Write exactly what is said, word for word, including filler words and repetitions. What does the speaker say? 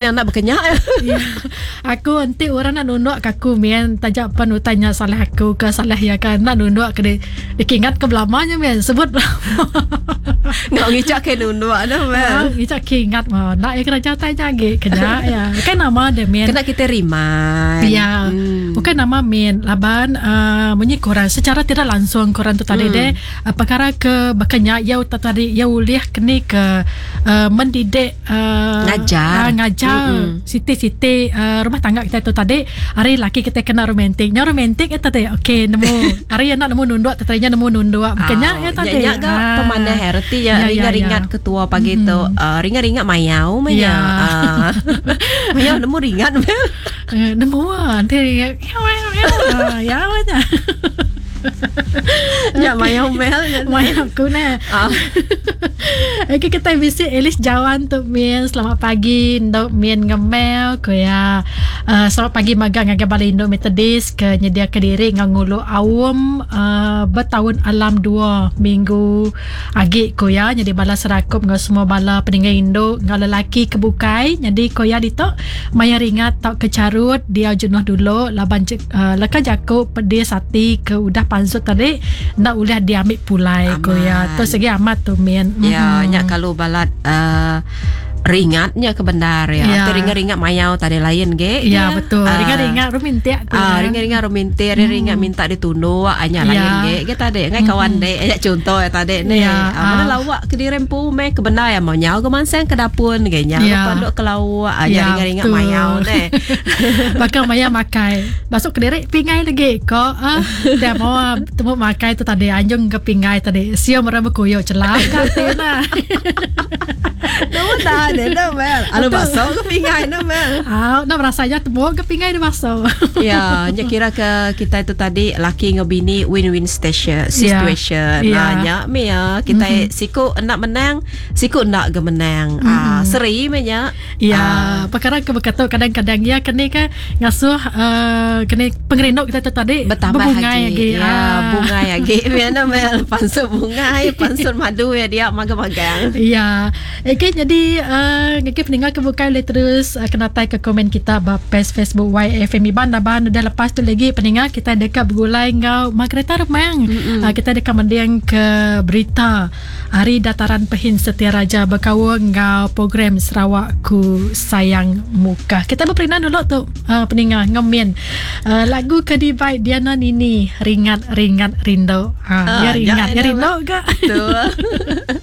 Anak bekenyak. Ya. Aku enti orang nak nunduk ke aku mian tajak pan utanya salah aku ke salah ya kan nak nunduk ke di dikingat ke belamanya mian sebut. Ngau ngicak ke nunduk dah mel. Ngicak ke ingat mah. Nak ya kerja tanya lagi kena ya. Kan nama dia mian. Kena kita remind. Ya. Hmm. Bukan nama mian laban uh, munyi korang secara tidak langsung korang tu tadi hmm. deh uh, perkara ke bekenyak ya tadi ya ulih kini ke uh, mendidik uh, ngajar uh, ngajar mm-hmm. Siti-siti uh, rumah tangga kita tu tadi hari laki kita kena romantik. Nya romantik itu tadi. Okey nemu hari nak nemu nunduk tadinya nemu nunduk. Bukannya ya tadi. Nya ga ah. Pemanah reti ya, ya ringat-ringat ya, ya. Ketua pagi mm-hmm. tu uh, ringat-ringat mayau menya. Ya. Uh, mayau nemu ringat mel. Uh, nemu ah nanti ya ya ya. Ya mayau mel mayau aku nah. Ah. Okey kita bisi Elis Jawan tu min. Selamat pagi ndok min ngemel ko ya. Uh, selamat pagi magang ngagai bala Indo Methodist ke nyedia ke diri ngau ngulu awam uh, bertahun alam dua minggu agi ko ya. Jadi bala serakup ngau semua bala peninggal Indo ngau lelaki kebukai. Jadi ko ya ditok maya ringat tau kecarut dia jenuh dulu laban uh, leka jaku pedis hati ke udah pansut tadi nak ulah diambil pulai ko ya. Tu segi amat tu min. Ya, mm-hmm. Nyak kalau balat uh, ringatnya ke bendar ya. Ya. Atau ringat-ringat mayau tadi lain ge. Ya, betul. Uh, ringat-ringat rumintik tu. Ah, ringat-ringat rumintik, hmm. ringat minta ditunduk anya ya. Lain ge. Ge tadi ngai kawan hmm. dek anya contoh ya tadi ni. Ya. Ah, mana lawak ke dirempu me ke bendar ya mau nyau ke mansang ke dapur ge nyau ya. Panduk ke lawak anya ya, ringat-ringat mayau ne. Bakal maya makai. Masuk ke direk pingai lagi ko ah. Dia mau temu makai tu tadi anjung ke pingai tadi. Siam orang berkoyok celak kat nah. Nama tak ada dah Mel. Alu bakso ke pingai dah Mel. Ah, nak rasanya temu ke pingai dah bakso. Ya, nya kira ke kita itu tadi laki dengan bini win-win station situation. Ya. Nah, nya me ya kita mm-hmm. siku nak menang, siku nak ke menang. Mm-hmm. Ah, seri me nya. Ya, ah. Perkara ke berkata kadang-kadang ya kene kan ngasuh uh, kene pengerinduk kita tu tadi bertambah berbungai lagi. lagi. Ya, ah. Bungai lagi. Mana Mel pansut bungai, pansut madu ya dia magang-magang. Ya. Okey, jadi uh, ngeki pendengar kebukai boleh terus uh, kena tai ke komen kita ba page Facebook Y F M Iban daban udah lepas tu lagi pendengar kita dekat bergulai ngau Margareta Remang. Uh, kita dekat mendiang ke berita Hari Dataran Pehin Setia Raja berkawal ngau program Sarawakku Sayang Muka. Kita berperinan dulu tu uh, pendengar ngomen uh, lagu ke di baik Diana Nini Ringat Ringat Rindu. Ha, Ah, ya ringat, ya, ya rindu ke? Betul.